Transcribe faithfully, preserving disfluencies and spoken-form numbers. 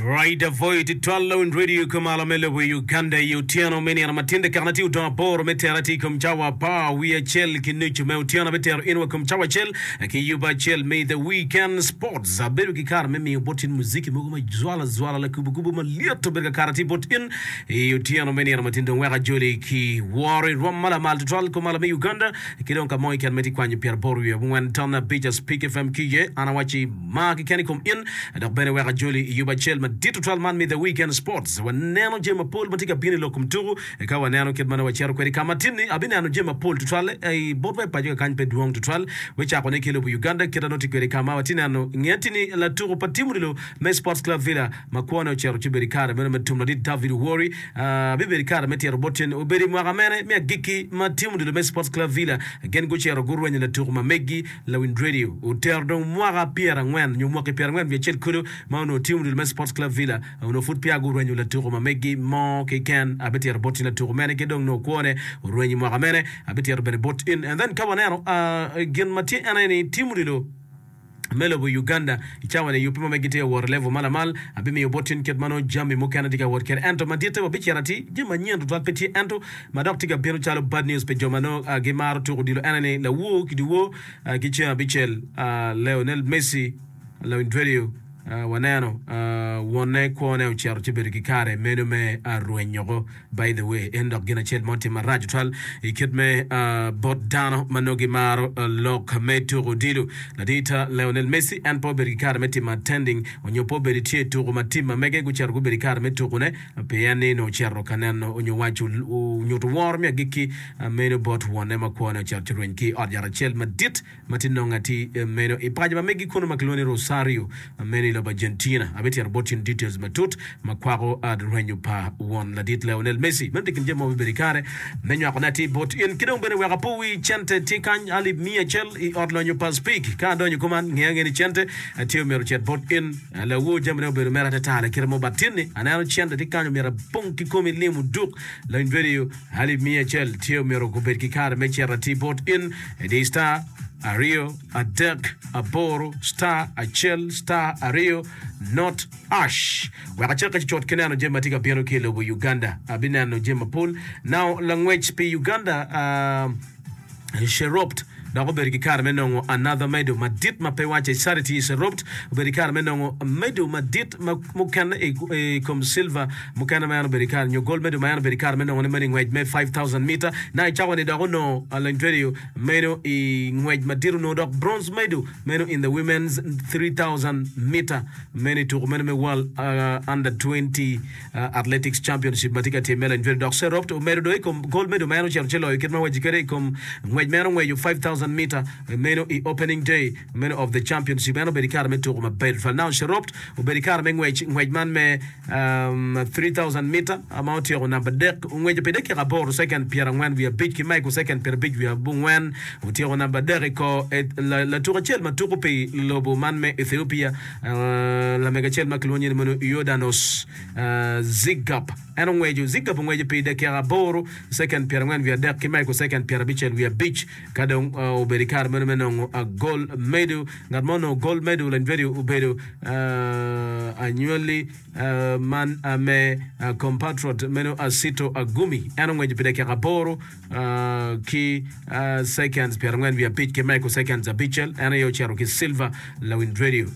Right avoid twal lawin radio kumalo me lobo Uganda i otyeno me nino matinde kana tye odong aboro me tera tye i kom cawa apar wiye acel ki nucu me otyeno abitero in wa kom cawa acel ki yubo acel me the weekend sports abedo ki kare me miyo bot in muziki mogo ma zwala zwala lakubukubu malyet obedo kakare tye bot in i otyeno me nino matinde dong wek ajoli ki woro i rwom ma lamal tutwal kumalo me Uganda ki dong ka mo keken me tye kwanyo pyeraboro wiye abongwen ton abic Speak FM ki iye an awaci ma keken i kom in dok bene wek ajoli i yubo acel madit tutwal man me the weekend sports waneno jami mapol ma tye ka bino i lok kom tuku ka waneno kit ma nongo wacito kwede ka ma tin-ni abineno jami mapol tutwal i bot wa i paco kakany pe dwong tutwal we cakone ki i lobo Uganda kit ma nongo tye kwede ka ma watye neno ngeti ni latuku pa tim odilo me Sports Club Villa ma kwone ocito ci obedo i kare meno me tum ladit David Owori bibedo i kare me tyero bot tyen obedo i mwaka mene me agikki ma tim odilo me Sports Club Villa gin gucito gurwenyo latuku ma megi lawin radio otero dong mwaka pyerangwen nyo mwaki pyerangwen wiye acel kulu ma onongo tim odilo me Sports Club Villa onongo pud peya gurwenyo latuku ma megi mo keken abityero bot in latuku mene ki dong nongo kwone orwenyo i mwaka mene abityero bene bot in and then ka waneno uh, gin ma tye en aye ni tim odilo me lobo Uganda i cawa ni yubbe ma megi tye ka wot i level ma lamal abimiyo bot in kit ma nongo jami mukene tye ka wot kwede ento maditte wabicito atir jami manyen tutwal pe tye ento ma dok tye ka bino calo bad news pi jo ma nongo uh, gimaro tuko odilo en aye ni lawor ki dyewor uh, ki ceng abicel uh, Lionel Messi lawiny radio uh, waneno uh, wonne kwone ocito ci bedo ki kare meno me uh, rwenyoko by the way en dok gin acel mo tye marac tutwal i kit me uh, bot dano ma nongo gimaro uh, lok me tuko odilo ladita Lionel Messi en pe obedo ki kare me timo attending onyo pe obedo tye i tuko ma tim ma mege gucito gubedo i kare me tukone pien ni nongo ocito ka neno onyo waco onyuto woro me agikki uh, meno bot wonne ma kwone ocito ci rweny ki i ot yat acel madit ma tye nongo ati eh, meno i paco ma megi kunu ma kilwongo ni Rosario uh, meno i lobo Argentina abityero bot in details matut ma kwako uh, rwenyo pa won ladit Lionel Messi meno tye kin jami ma obibedo i kare me nywakone atir bot in ki dong bene wek apo wi cente tye kany alip miya acel i ot lonyo pa Speak ka adonyo kuman ngeya nge ni cente tye omyero ocit bot in lawor jamine obedo mere atata lakite mo but tin ni aneno cente tye kany omyero apong ki komi lim oduk lawiny radio alip miya acel tye omyero obed ki kare me cito atir bot in di star aryo adek aboro star acel star aryo not hash wek acak cut ki neno jami ma tye ka bino ki i lobo Uganda abineno jami mapol now langwec pi Uganda uh, Cherupt dok obedo ki kare me nongo another medal madit ma pe waco Charity Cherupt obedo ki kare me nongo medal madit ma mukene i, i kom silver mukene ma en obedo ki kare nyo gold medal ma en obedo ki kare me nongo ne meno i ngwec me five thousand meter na i cawa ni dok onongo uh, meno i ngwec madit onongo dok bronze medal meno in the women's three thousand meter meno i tuko meno me world uh, under twenty uh, athletics championship ma tye ka timme lanywedo dok Cherupt omedo do i kom gold medal ma en ocito ci loyo kit ma waci kwede i kom ngwec ma en ongweco five thousand meter meno i opening day meno of the championship en obedo i kare me tuko maber tutwal now Cherupt obedo i kare me ngwec ngwec man me um, three thousand meter ma otyeko namba adek ongweco pi dakika aboro second pyerangwen wiye abic ki micro second pyerabic wiye abongwen otyeko namba adek i ko latuk acel ma tuko pi lobo man me Ethiopia uh, lamego acel ma kilwongo ni meno Yordanos uh, Zigap en ongweco Zigap ongweco pi dakika aboro second pyerangwen wiye adek ki micro second pyerabicel wiye abic ka dong uh, obedo i kare meno me nongo uh, gold medal ngat mo onongo gold medal lanywedo obedo uh, anywali uh, man uh, me uh, compatriot meno Asito Agumi en ongweco pi dakika aboro uh, ki uh, seconds pyerangwen wiye abic ki micro seconds abicel en aye ocito ki silver lawin radio.